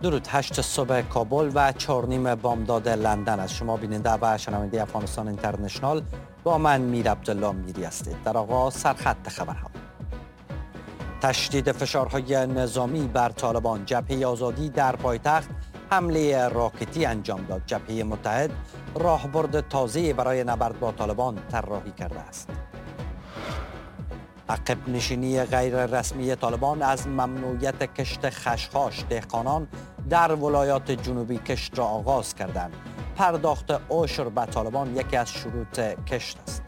درود. 8 صبح کابل و 4:30 بامداد لندن از شما بیننده و شنونده افغانستان اینترنشنال با من میر عبدالله میری هستید. در آغاز سرخط خبرها: تشدید فشارهای نظامی بر طالبان، جبهه آزادی در پایتخت حمله راکتی انجام داد. جبهه متحد راهبرد تازه برای نبرد با طالبان طراحی کرده است. عقب نشینی غیر رسمی طالبان از ممنوعیت کشت خشخاش، دهقانان در ولایات جنوبی کشت را آغاز کردند. پرداخت عشر به طالبان یکی از شروط کشت است.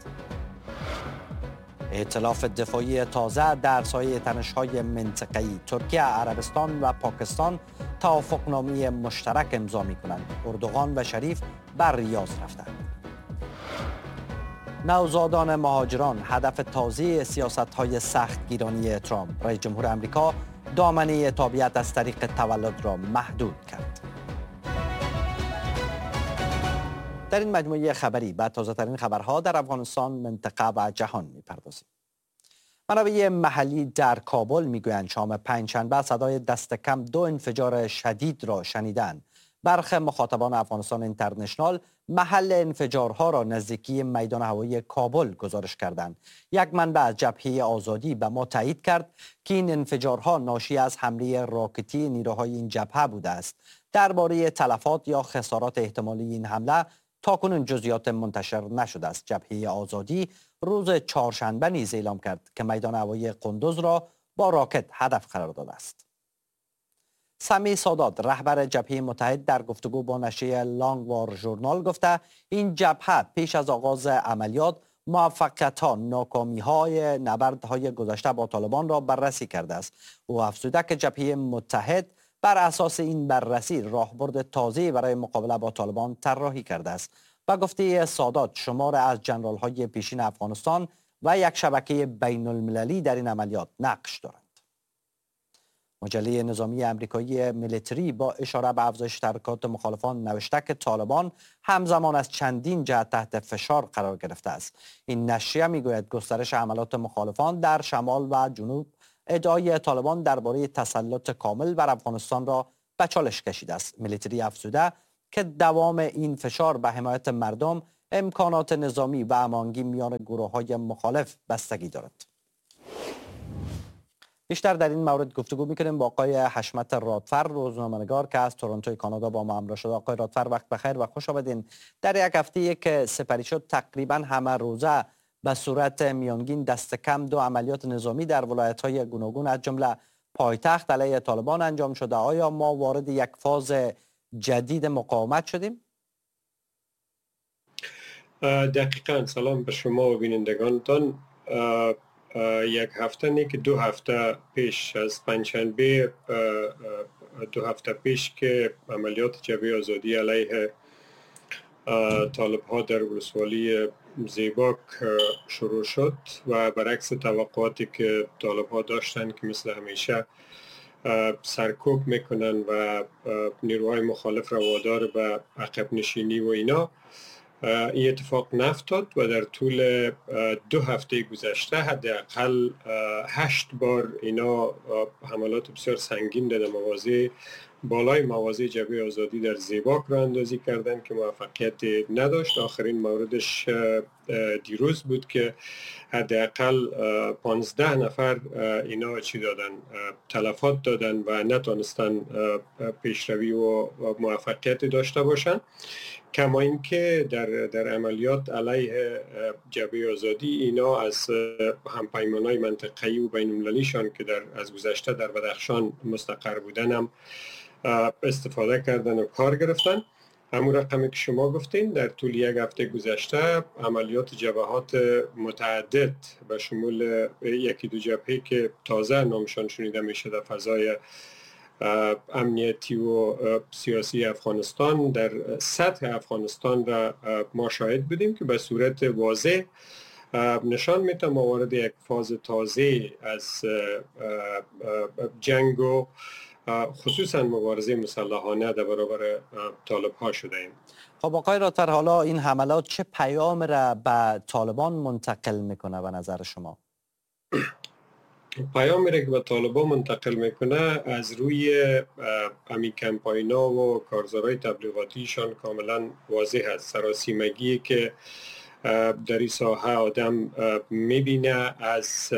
ائتلاف دفاعی تازه در سایه تنش‌های منطقه‌ای، ترکیه، عربستان و پاکستان توافقنامه مشترک امضا می‌کنند. اردوغان و شریف بر ریاض رفتند. نوزادان مهاجران هدف تازه سیاست‌های سختگیرانی ترامپ. رئیس جمهور آمریکا دامنه تابعیت از طریق تولد را محدود کرد. در این مجموعه خبری به تازه‌ترین خبرها در افغانستان، منطقه و جهان می‌پردازیم. منابع محلی در کابل می‌گویند شام پنجشنبه صدای دست کم 2 انفجار شدید را شنیدند. برخی مخاطبان افغانستان اینترنشنال محل انفجارها را نزدیکی میدان هوایی کابل گزارش کردند. یک منبع از جبهه آزادی به ما تایید کرد که این انفجارها ناشی از حمله راکتی نیروهای این جبهه بوده است. درباره تلفات یا خسارات احتمالی این حمله تاکنون جزئیات منتشر نشده است. جبهه آزادی روز چهارشنبه نیز اعلام کرد که میدان هوایی قندوز را با راکت هدف قرار داده است. سمی سادات رهبر جبهه متحد در گفتگو با نشریه لانگ وار ژورنال گفته این جبهه پیش از آغاز عملیات موفقیت‌ها، ناکامی‌های نبردهای گذشته با طالبان را بررسی کرده است. او افزوده که جبهه متحد بر اساس این بررسی راهبرد تازه برای مقابله با طالبان طراحی کرده است. با گفته سادات شمار از جنرال‌های پیشین افغانستان و یک شبکه بین‌المللی در این عملیات نقش دارند. مجله نظامی امریکایی میلیتری با اشاره به افزایش تحرکات مخالفان نوشته که طالبان همزمان از چندین جهت تحت فشار قرار گرفته است. این نشریه میگوید گسترش حملات مخالفان در شمال و جنوب ادعای طالبان درباره تسلط کامل بر افغانستان را به چالش کشیده است. میلیتری افزوده که دوام این فشار به حمایت مردم، امکانات نظامی و هماهنگی میان گروه‌های مخالف بستگی دارد. بیشتر در این مورد گفتگو میکنیم با آقای حشمت رادفر، روزنامه‌نگار که از تورنتو کانادا با ما همراه شده. آقای رادفر وقت بخیر و خوش آمدین. در یک هفته که سپری شد تقریبا همه روزه به صورت میانگین دست کم 2 عملیات نظامی در ولایت‌های گوناگون از جمله پایتخت علیه طالبان انجام شده. آیا ما وارد یک فاز جدید مقاومت شدیم؟ دقیقاً. سلام به شما و بینندگانتان. یک هفته نه که 2 هفته پیش از پنجشنبه، 2 هفته پیش که عملیات جبهه آزادی علیه طالب ها در ولسوالی زیباک شروع شد و برعکس توقعاتی که طالب ها داشتن که مثل همیشه سرکوب میکنن و نیروهای مخالف را وادار به عقب نشینی و اینا، این اتفاق نفتاد و در طول 2 هفته گذشته حداقل 8 بار اینا حملات بسیار سنگین در مواضع بالای مواضع جبهه آزادی در زیباک را اندازی کردند که موفقیت نداشت. آخرین موردش دیروز بود که حداقل 15 نفر اینا چی دادن، تلفات دادن و نتانستن پیشروی و موفقیت داشته باشن. کما اینکه در عملیات علیه جبهه آزادی اینا از همپیمانای منطقه‌ای و بین‌المللیشان که از گذشته در بدخشان مستقر بودن هم استفاده کردن و کار گرفتن. همون رقمی که شما گفتین در طول یک هفته گذشته عملیات جبهات متعدد به شمول 1-2 جبهه که تازه نامشان شنیده میشه در فضای امنیتی و سیاسی افغانستان در سطح افغانستان را ما شاهد بودیم که به صورت واضح نشان میده ما وارد یک فاز تازه از جنگ و خصوصا مبارزه مسلحانه در برابر طالب ها شده ایم. خب آقای رادفر، حالا این حملات چه پیام را به طالبان منتقل میکنه به نظر شما؟ پیامی را که به طالبان منتقل میکنه از روی امی کمپاینا و کارزارهای تبلیغاتیشان کاملا واضح است. سراسیمگی که در این ساحه آدم میبینه از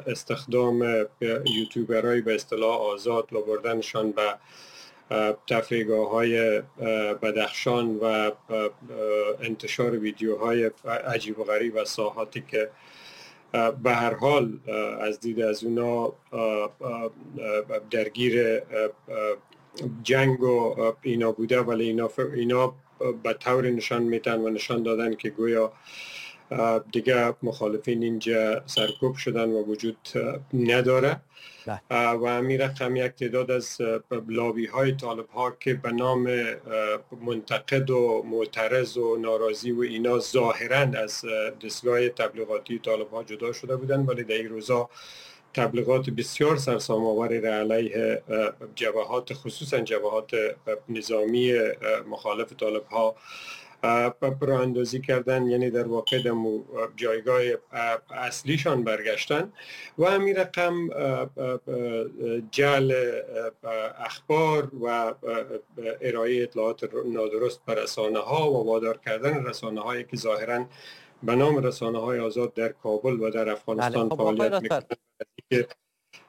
استخدام یوتیوبرای به اصطلاح آزاد و بردنشان به تفریحگاه های بدخشان و انتشار ویدیوهای عجیب و غریب و ساحاتی که به هر حال از دید از اونا درگیر جنگ و اینا بوده، ولی اینا به طور نشان میتن و نشان دادن که گویا دیگه مخالفین اینجا سرکوب شدن و وجود نداره. و همین رقم یک تعداد از لابی های طالب ها که به نام منتقد و معترض و ناراضی و اینا ظاهراً از دستگاه تبلیغاتی طالب ها جدا شده بودن، ولی در این روزا تبلیغات بسیار سرسام‌آوری را علیه جبهات، خصوصا جبهات نظامی مخالف طالب ها راه اندازی کردن، یعنی در واقع در جایگاه اصلیشان برگشتن. و همین رقم جعل اخبار و ارائه اطلاعات نادرست بر رسانه ها و وادار کردن رسانه هایی که ظاهراً به نام رسانه های آزاد در کابل و در افغانستان فعالیت میکنند.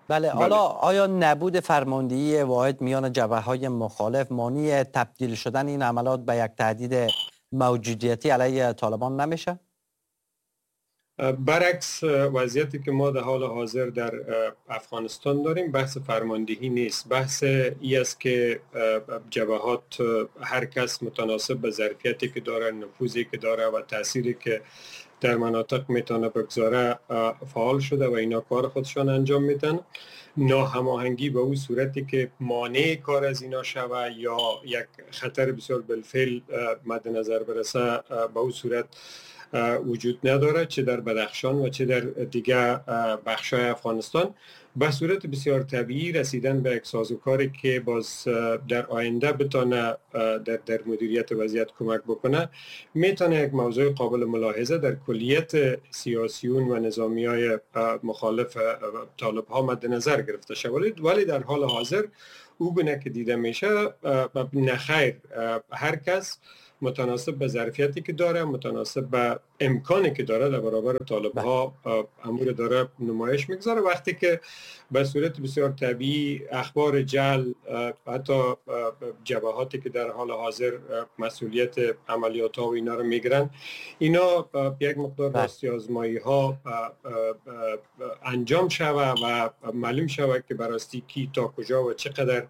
بله، حالا آیا نبود فرماندهی واحد میان جبهه‌های مخالف مانع تبدیل شدن این عملات به یک تهدید موجودیتی علیه طالبان نمیشه؟ برعکس وضعیتی که ما در حال حاضر در افغانستان داریم بحث فرماندهی نیست، بحث ای است که جبهات هر کس متناسب به ظرفیتی که داره، نفوذی که داره و تأثیری که در مناطق میتونه بگذاره فعال شده و اینا کار خودشان انجام میتن. ناهماهنگی به اون صورتی که مانع کار از اینا شوه یا یک خطر بسیار بالفعل مد نظر برسه به اون صورت وجود نداره، چه در بدخشان و چه در دیگر بخش‌های افغانستان. به صورت بسیار طبیعی رسیدن به یک سازوکاری که باز در آینده بتانه در مدیریت وضعیت کمک بکنه، میتونه یک موضوع قابل ملاحظه در کلیت سیاسیون و نظامیای مخالف طالب ها مد نظر گرفته شود. ولی در حال حاضر او گونه که دیده میشه نخیر، هر کس متناسب به ظرفیتی که داره، متناسب به امکانی که داره در برابر طالب ها امور داره نمایش میگذاره. وقتی که به صورت بسیار طبیعی اخبار جعل، حتی جبهاتی که در حال حاضر مسئولیت عملیات ها و اینا رو میگیرن، اینا یک مقدار راستی آزمایی ها انجام شوه و معلوم شوه که براستی کی تا کجا و چقدر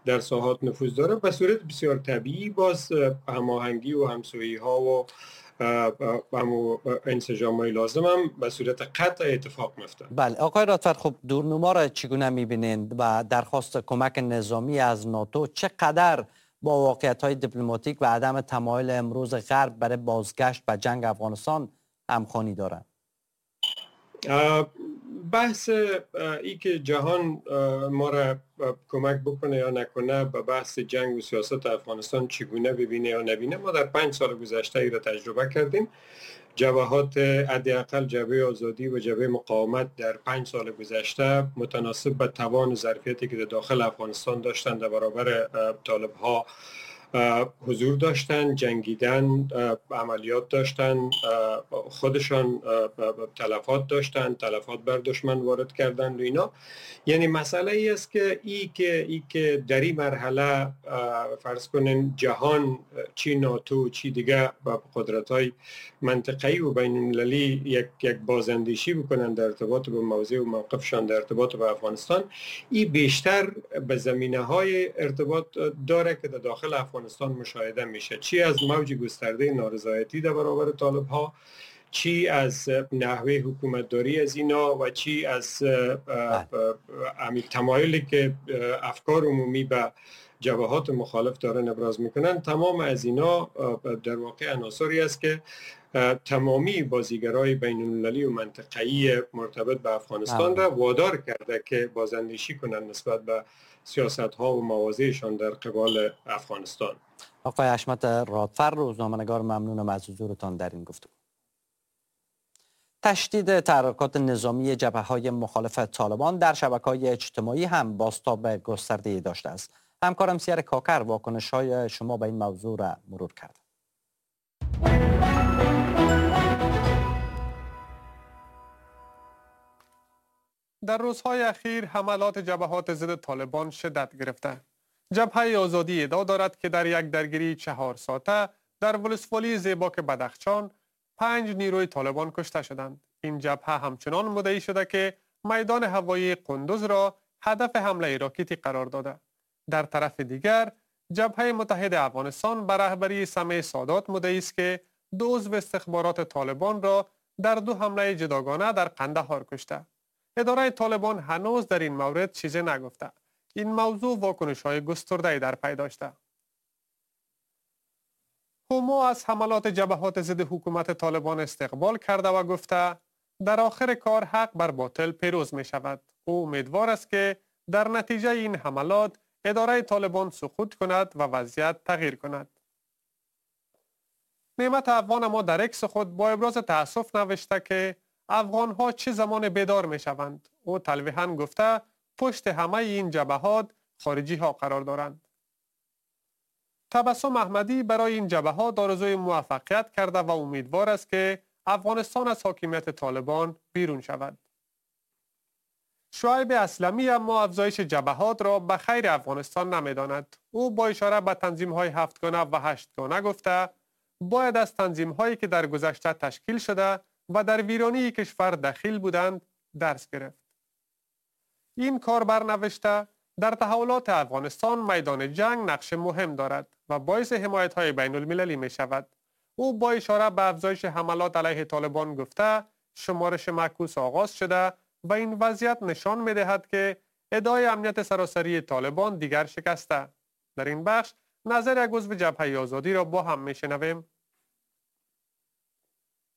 در ساحات نفوذ داره، به صورت بسیار طبیعی باز هماهنگی و همسویی ها و انسجام های لازم هم به صورت قطع اتفاق میفته. بله آقای رادفر، خب دورنما را چگونه میبینید و درخواست کمک نظامی از ناتو چقدر با واقعیت های دیپلماتیک و عدم تمایل امروز غرب برای بازگشت به جنگ افغانستان همخوانی دارند؟ بحث ای که جهان ما را کمک بکنه یا نکنه به بحث جنگ و سیاست افغانستان چگونه ببینه یا نبینه، ما در 5 سال گذشته ای را تجربه کردیم. جبهات حداقل جبهه آزادی و جبهه مقاومت در 5 سال گذشته متناسب به توان و ظرفیتی که در داخل افغانستان داشتن در برابر طالب ها حضور داشتن، جنگیدن، عملیات داشتن، خودشان تلفات داشتن، تلفات بر دشمن وارد کردن و اینا. یعنی مسئله ای است که ای که در این مرحله فرض کنین جهان، چی ناتو چی دیگه با قدرت‌های منطقه‌ای و بین‌المللی یک بازاندیشی بکنن در ارتباط با موضع و موقفشان در ارتباط با افغانستان، این بیشتر به زمینه‌های ارتباط داره که در داخل افغانستان مشاهده میشه، چی از موج گسترده نارضایتی در برابر طالب ها، چی از نحوه حکومتداری از اینا و چی از تمایلی که افکار عمومی به جبهات مخالف دارن ابراز میکنن. تمام از اینا در واقع عناصری است که تمامی بازیگرای بین المللی و منطقه‌ای مرتبط به افغانستان را وادار کرده که بازاندیشی کنند نسبت به سیاست‌ها و مواضعشان در قبال افغانستان. آقای حشمت رادفر، روزنامه‌نگار، ممنونم از حضورتان در این گفتگو. تشدید تحرکات نظامی جبهه‌های مخالف طالبان در شبکه‌های اجتماعی هم بازتاب گسترده‌ای داشته است. همکارم سیر کاکر واکنش‌های شما به این موضوع را مرور کرد. در روزهای اخیر حملات جبهات ضد طالبان شدت گرفته. جبهه آزادی ادعا دارد که در یک درگیری 4 ساعته در ولسوالی زیباک بدخشان 5 نیروی طالبان کشته شدند. این جبهه همچنان مدعی شده که میدان هوایی قندوز را هدف حمله راکتی قرار داده. در طرف دیگر جبهه متحد افغانستان به رهبری سمیع سادات مدعی است که 2 عضو استخبارات طالبان را در 2 حمله جداگانه در قندهار کشته. اداره طالبان هنوز در این مورد چیزی نگفته. این موضوع واکنش‌های گسترده‌ای در پی داشته. هوما از حملات جبهات ضد حکومت طالبان استقبال کرده و گفته در آخر کار حق بر باطل پیروز می شود. او امیدوار است که در نتیجه این حملات اداره طالبان سقوط کند و وضعیت تغییر کند. نعمت افغان ما در عکس خود با ابراز تأسف نوشته که افغان ها چه زمان بیدار می شوند. او تلویحاً گفته پشت همه این جبهات خارجی ها قرار دارند. تبسم احمدی برای این جبهات آرزوی موفقیت کرده و امیدوار است که افغانستان از حاکمیت طالبان بیرون شود. شعیب اسلمی اما افزایش جبهات را به خیر افغانستان نمیداند. او با اشاره به تنظیم های 7 گانه و 8 گانه گفته باید از تنظیم هایی که در گذشته تشکیل شده و در ویرانی کشور دخیل بودند درس گرفت. این کاربر نوشته در تحولات افغانستان میدان جنگ نقش مهم دارد و باعث حمایت‌های بین المللی می شود. او با اشاره به افزایش حملات علیه طالبان گفته شمارش معکوس آغاز شده و این وضعیت نشان می دهد که ادعای امنیت سراسری طالبان دیگر شکسته. در این بخش نظر یک عضو جبهه آزادی را با هم می شنویم.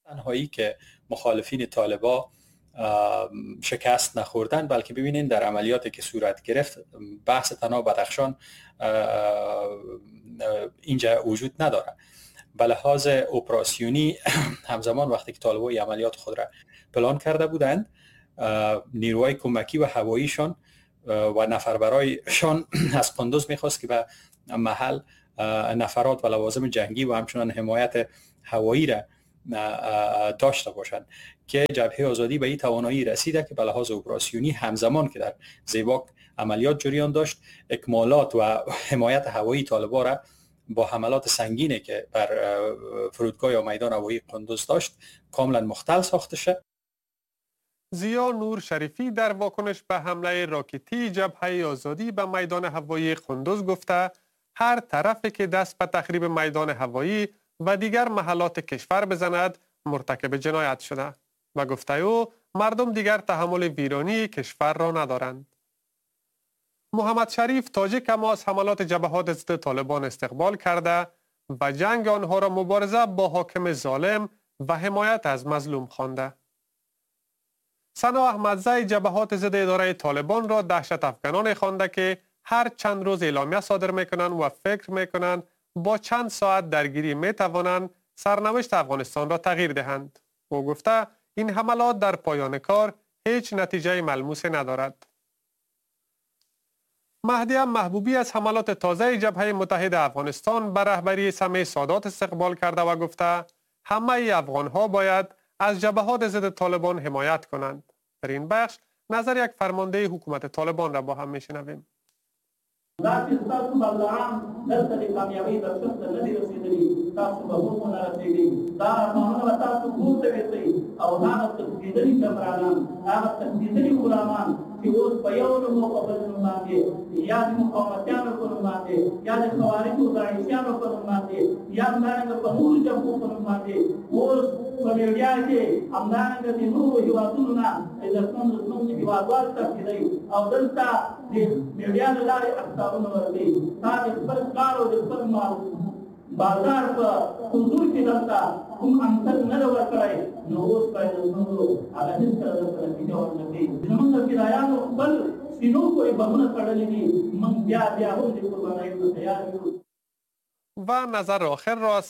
تنهایی که مخالفین طالبان شکست نخوردن، بلکه ببینین در عملیاتی که صورت گرفت بحث تنها بدخشان اینجا وجود نداره. به لحاظ اپراسیونی همزمان وقتی که طالبان عملیات خود را پلان کرده بودند، نیروهای کمکی و هواییشان و نفربرایشان از قندوز میخواست که به محل نفرات و لوازم جنگی و همچنان حمایت هوایی را داشته باشند که جبهه آزادی به این توانایی رسیده که به لحاظ اپراسیونی همزمان که در زیباک عملیات جریان داشت، اکمالات و حمایت هوایی طالبان را با حملات سنگینی که بر فرودگاه یا میدان هوایی قندوز داشت کاملا مختل ساخته شد. ضیا نور شریفی در واکنش به حمله راکتی جبهه آزادی به میدان هوایی قندوز گفته هر طرفی که دست به تخریب میدان هوایی و دیگر محلات کشور بزند مرتکب جنایت شده و گفته او مردم دیگر تحمل ویرانی کشور را ندارند. محمد شریف تاجیک اما از حملات جبهات ضد طالبان استقبال کرده و جنگ آنها را مبارزه با حاکم ظالم و حمایت از مظلوم خوانده. ثنا احمدزی جبهات ضد اداره طالبان را دهشت افغانان خوانده که هر چند روز اعلامیه صادر میکنند و فکر میکنند با چند ساعت درگیری می توانند سرنوشت افغانستان را تغییر دهند. او گفته این حملات در پایان کار هیچ نتیجه ملموس ندارد. مهدی محبوبی از حملات تازه جبهه متحد افغانستان به رهبری سمیع سادات استقبال کرده و گفته همه افغانها باید از جبهات ضد طالبان حمایت کنند. در این بخش نظر یک فرمانده حکومت طالبان را با هم میشنویم. دا چې ستاسو برداران دلته د کامیابۍ درشن ته نه دي رسېدلي، تاسو به هم ونه رسېږئ. دا ارمانونه به تاسو پورته ویسئ او هغه تښتېدلي جنرالان، هغه تښتېدلي غلامان چې اوس په یو نوم او په بل نوم باندې، یا د مقاومتیانو په نوم باندې، یا د خوارجو داعشیانو په نوم باندې، یا همدارنګه په نورو جبهو په نوم باندې اوس په میډیا کې همدارنګه د نورو هېوادونو نه عزتمند زموږ هېوادوال تښتېدی او دلته د میډیا له لارې اخطارونه ورکوي. تا د خپل کار او د خپل بازار په حضور کې دلته کوم امثل نه ده ورکړی، نو اوس باید زموږ هغه هېڅکله دلته نتیجه ورنه کړي. زموږ فدایانو خپل سینو پورې بمونه تړلي دي، موږ بیا بیا هم د قربانیو ته تیار یو. و نظر آخر را از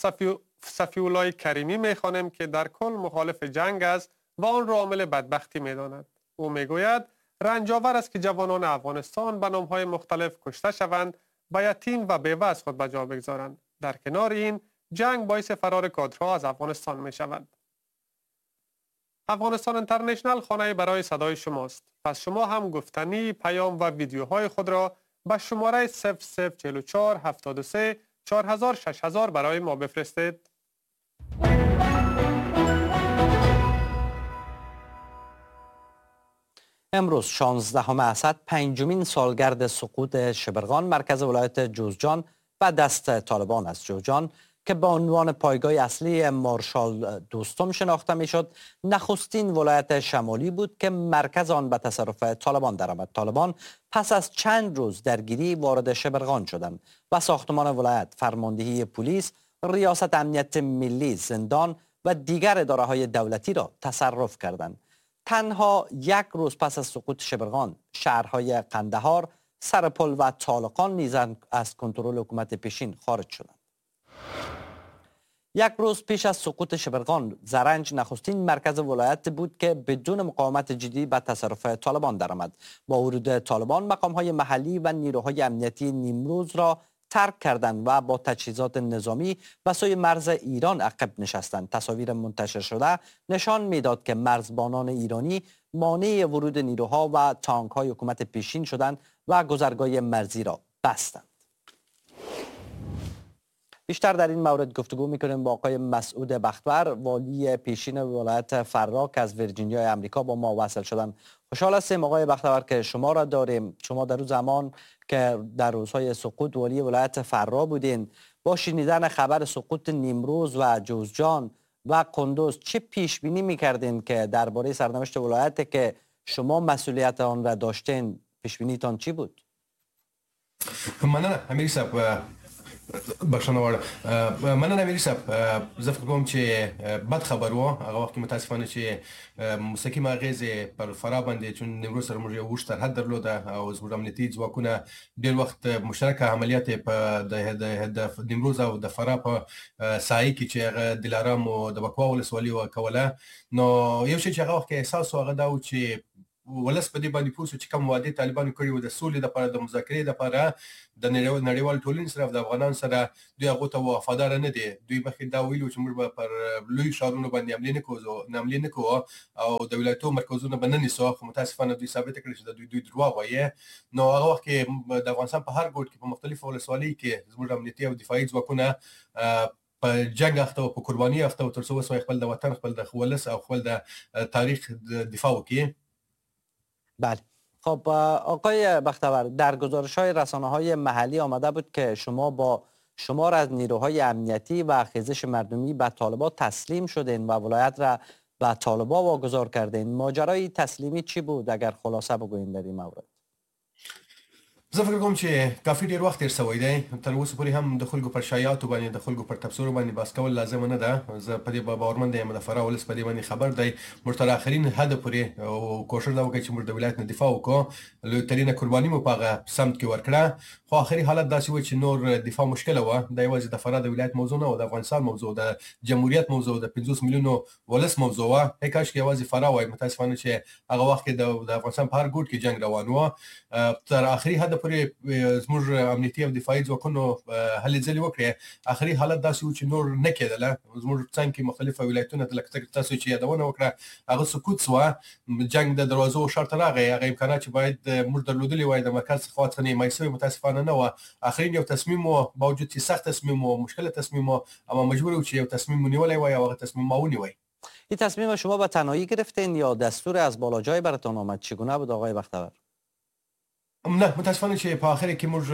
صفی‌الله کریمی میخوانیم که در کل مخالف جنگ است و آن را عامل بدبختی می‌داند. او می‌گوید رنج‌آور است که جوانان افغانستان به نام‌های مختلف کشته شوند و یتیم و بیوه از خود به جا بگذارند. در کنار این جنگ باعث فرار کادرها از افغانستان می شود. افغانستان اینترنشنال خانه برای صدای شماست. پس شما هم گفتنی، پیام و ویدیوهای خود را به شماره 0044 73 4000 6000 برای ما بفرستید. امروز 16 اسد، پنجمین سالگرد سقوط شبرغان، مرکز ولایت جوزجان و دست طالبان است. جوزجان که به عنوان پایگاه اصلی مارشال دوستم شناخته میشد، نخستین ولایت شمالی بود که مرکز آن به تصرف طالبان درآمد. طالبان پس از چند روز درگیری وارد شبرغان شدند و ساختمان ولایت، فرماندهی پلیس، ریاست امنیت ملی، زندان و دیگر اداره های دولتی را تصرف کردند. تنها یک روز پس از سقوط شبرغان، شهرهای قندهار، سرپل و طالقان نیز از کنترل حکومت پیشین خارج شدند. یک روز پیش از سقوط شبرغان، زرنج نخستین مرکز ولایت بود که بدون مقاومت جدی به تصرف طالبان درآمد. با ورود طالبان، مقام‌های محلی و نیروهای امنیتی نیمروز را ترک کردند و با تجهیزات نظامی به سوی مرز ایران عقب نشستند. تصاویر منتشر شده نشان میداد که مرزبانان ایرانی مانع ورود نیروها و تانک‌های حکومت پیشین شدند و گذرگاه مرزی را بستند. بیشتر در این مورد گفتگو میکنیم با آقای مسعود بختور، والی پیشین ولایت فراه که از ویرجینیای امریکا با ما وصل شدن. خوشحال هستیم آقای بختور که شما را داریم. شما در روز زمان که در روزهای سقوط والی ولایت فراه بودین، با شنیدن خبر سقوط نیمروز و جوزجان و قندوز چه پیش بینی میکردین که درباره سرنوشت ولایت که شما مسئولیت آن را داشتین، پیش بینیتان چی بود؟ مننه امیر صاحب، بخښنه غواړم. مننه امیر صاحب، زه فکر کوم چې بد خبر و هغه وخت کې متاسفانه چې مستقیم اغېزې پر فراه باندې، چون نیمروز سره موږ یو اوږد سرحد درلوده او زموږ امنیتي ځواکونه ډېر وخت مشترکه عملیات په د نیمروز او د فراه په ساحې کې چې هغه دلارام او د بکوا ولسوالي کوله. نو یو شی چې هغه وخت کې احساس و هغه دا و چې ولس په دې باندې پوه شو چې کوم وعدې طالبانو کړې وو د سولې دپاره، د مذاکرې دپاره، د نړیوال ټولنې سره او د افغانانو سره، دوی هغو ته وفادار نه دي. دوی مخکې دا ویلي وو چې موږ به پر لوی ښارونو باندې حملې نه کوو او د ولایتو مرکزونه به نه نیسو، خو متاسفانه دوی ثابته کړې چې د دوی درواغ وایي. نو هغه وخت کې د افغانستان په هر ګوټ کې په مختلفو ولسوالۍ کې زموږ امنیتي او دفاعي ځواکونه په جنګ اخته او په قرباني اخته وو، تر څو وسوای خپل د وطن، خپل د ولس او خپل د تاریخ دفاع وکړي. بله. خب آقای بختور، در گزارش های رسانه های محلی آمده بود که شما با شمار از نیروهای امنیتی و خیزش مردمی به طالبان تسلیم شدین و ولایت را به طالبان واگذار کردین. ماجرای تسلیمی چی بود اگر خلاصه بگوین در این مورد؟ زه فکر کوم چې کافي ډیر وخت تیر شوی دی، تر اوسه پورې هم د خلکو پر شایعاتو باندې، د خلکو پر تبصرو باندې بحث کول لازمه نه ده. زه په دې باورمند یم، د فراه ولس په دې باندې خبر دی. موږ تر آخرین حده پورې کوښښ دا وکړ چې موږ د ولایت نه دفاع وکړو، لوی ترینه قرباني مو په هغه سمت کې ورکړه، خو آخري حالت داسې و چې نور دفاع مشکله وه. دا یوازې د فراه د ولایت موضوع نه وه، د افغانستان موضوع، د جمهوریت موضوع، د 50 میلیونو ولس موضوع وه. کاش کې یوازې فراه وای. متاسفانه چې هغه وخت کې د افغانستان په هر ګوټ کې جنګ روان و. تر آخري حده پورې زموږ امنیتي او دفاعي ځواکونو هلې ځلې وکړې. آخري حالت داسې و چې نور نه کېدله. زموږ څنګ کې مختلف ولایتونه لکه تاسو چې یادونه وکړه هغه سکوت سوه، جنګ د دروازو ښار ته راغی. هغه امکانات چې باید موږ درلودلي وای د مرکز خوا څخه نیمایي سوی متاسفانه نه وه. آخرین یو تصمیم و، باوجود چې سخت تصمیم و، مشکل تصمیم و، اما مجبور و چې یو تصمیم مو نیولی وای او هغه تصمیم ما ونیوی. این تصمیم شما به تنهایی گرفتین یا دستور از بالا جای براتون آمد؟ چگونه بود آقای بختور؟ نه، متاسفانه چې په اخر کې موږ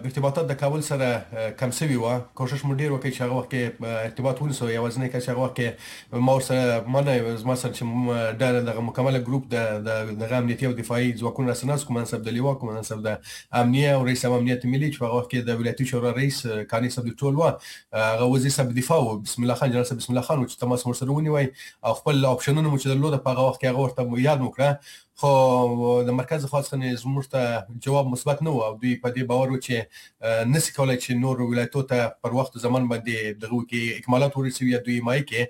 ارتباطات د کابل سره کم سوي وه. کوشش مو ډیر وکړ چې هغه وخت کې ارتباط ونیسو. یوازینی کس چې هغه وخت کې ما ورسره ما نه زما سره چې ډېر دغه مکمله ګروپ د دغه امنیتي او دفاعي ځواکونو راسره ناست، قومندان صاحب د لوا، قومندان صاحب د امنیه او رئیس امنیت ملي چې په هغه وخت کې د ولایتي شورا رئیس کاني صاحب د ټول وه، هغه وزیر صاحب دفاع و، بسم الله خان، جنرال صاحب بسم الله خان و، چې تماس مو ورسره ونیوی او خپل آپشنونه مو چې درلوده په هغه وخت کې هغه ورته یاد مو کړه. خو د مرکز خوا څخه زموږ ته جواب مثبت نه و او دوی په دې باور و چې نسی کولای چې نور ولایتو ته پر وخت زمان باندې دغه کې اکمالات ورسوي یا دوی مای کې.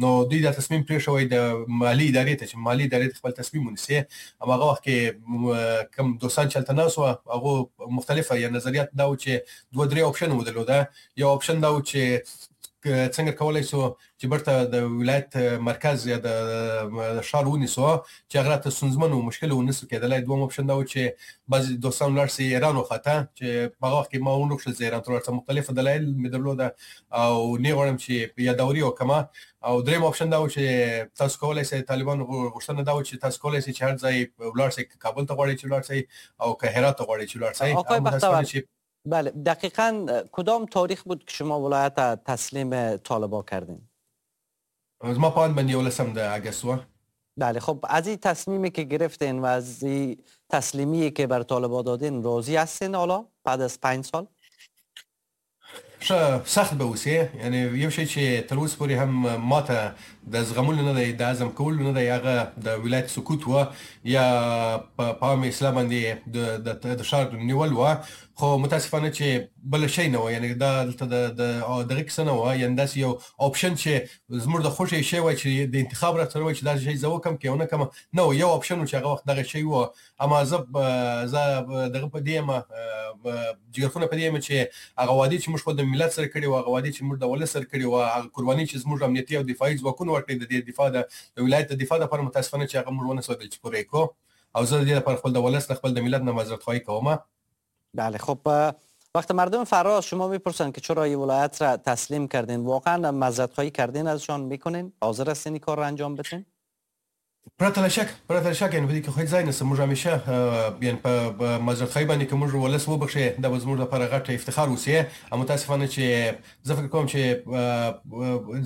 نو دوی دا تصمیم پرې شوی د مالي ادارې ته چې مالي ادارې خپل تصمیم ونیسي. اما هغه وخت کې کوم دوستان چې هلته ناست وو هغو مختلفه یا نظریات دا و چې دوه درې option مو درلوده. یو option دا و چې څنګه کولای شو چې بیرته د ولایت مرکز یا د ښار ونیسو چې هغه راته ستونزمن او مشکل ونسو کېدلی. دویم option دا و چې بعضې دوستان ولاړ سي ایران وخته چې په هغه وخت کې ما ونه غوښتل زه ایران ته ولاړ سم، مختلف دلایل مې درلوده او نه غواړم چې یادوري وکړم. او دریم option دا و چې تاسو کولای شئ، طالبانو غوښتنه دا و چې تاسو کولای شئ چې هر ځای ولاړ سئ، که کابل ته غواړئ چې ولاړ سئ او که هرات ته غواړئ چې ولاړ سئ. بله، دقیقاً کدام تاریخ بود که شما ولایت تسلیم طالبا کردین؟ زما په اند باندې 11 د اګست و. بله، خب از این تصمیمی که گرفتین و از این تسلیمی که بر طالبا دادین راضی هستین حالا بعد از 5 سال؟ ښه سخت به اوسې، یعنی یو شی چې تر اوسه پورې هم ماته د زغملو نه دی، د هضم کولو نه دی، هغه د ولایت سقوط و یا په عام اصلاح باندې د ښار نیول و. خو متاسفانه چې بل شی نه و، یعنی دا دلته د دغه کیسه نه وه، یعنی داسې یو option چې زموږ د خوښې شی وای چې د انتخاب راته وای چې داسې شی زه وکړم که ونه کړم نه و. یو option و چې هغه وخت دغه شی و. اما زه دغه په دې یم، جګرخونه په دې یم چې هغه وعدې چې موږ خپل د ملت سره کړې وه، هغه وعدې چې موږ د ولس سره کړې وه، هغه قرباني چې زموږ امنیتي او دفاعي ځواکونو ورکړې د دې دفاع د ولایت د دفاع لپاره، متاسفانه چې هغه موږ ونه سوال چې پوره کړو. او زه د دې لپاره خپل د ولس نه خپل د ملت نه معذرت خواهي کوم. بله، خب وقت مردم فراه شما میپرسن که چرا این ولایت را تسلیم کردین، واقعا معذرت خواهی کردین ازشان میکنین؟ حاضر هستین این کار را انجام بدین؟ پرته له شک، پرته له شک، یعنی په دې کې خو هېڅ ځای نشته. موږ همیشه یعنی په معذرت خواهي باندې که موږ ولس وبخښي دا به زموږ لپاره غټ افتخار اوسي. او متاسفانه چې زه فکر کوم چې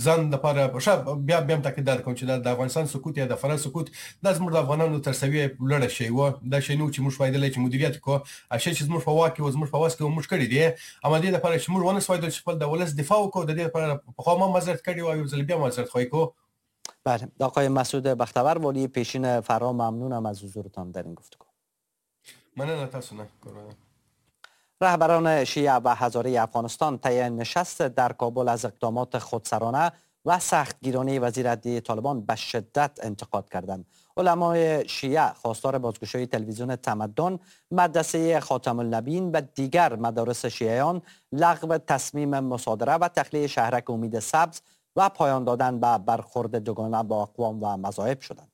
ځان لپاره ښه بیا هم تاکید دا کوم چې دا د افغانستان سقوط یا د فراه سقوط دا زموږ د افغانانو تر سویې لوړه شی و، دا شی نه و چې موږ فایدلی چې مدیریت کړو، هغه شی چې زموږ په واک کې و، زموږ په وس کې و، موږ کړي دي. اما دې لپاره چې موږ ونه سوای چې خپل د ولس دفاع وکړو، د دې لپاره پخوا ما معذرت کړی و او یو ځل بیا معذرت خواهي کوو. بله، آقای مسعود بختور والی پیشین فراه، ممنونم از حضورتان در این گفتگو. مننه تاسو نه. رهبران شیعه و هزاره افغانستان طی نشست در کابل از اقدامات خودسرانه و سختگیرانه وزیر عدلیه طالبان به شدت انتقاد کردند. علمای شیعه خواستار بازگشایی تلویزیون تمدن، مدرسه خاتم النبیین و دیگر مدارس شیعیان، لغو تصمیم مصادره و تخلیه شهرک امید سبز و پایان دادن به برخورد دوگانه با اقوام و مذاهب شدند.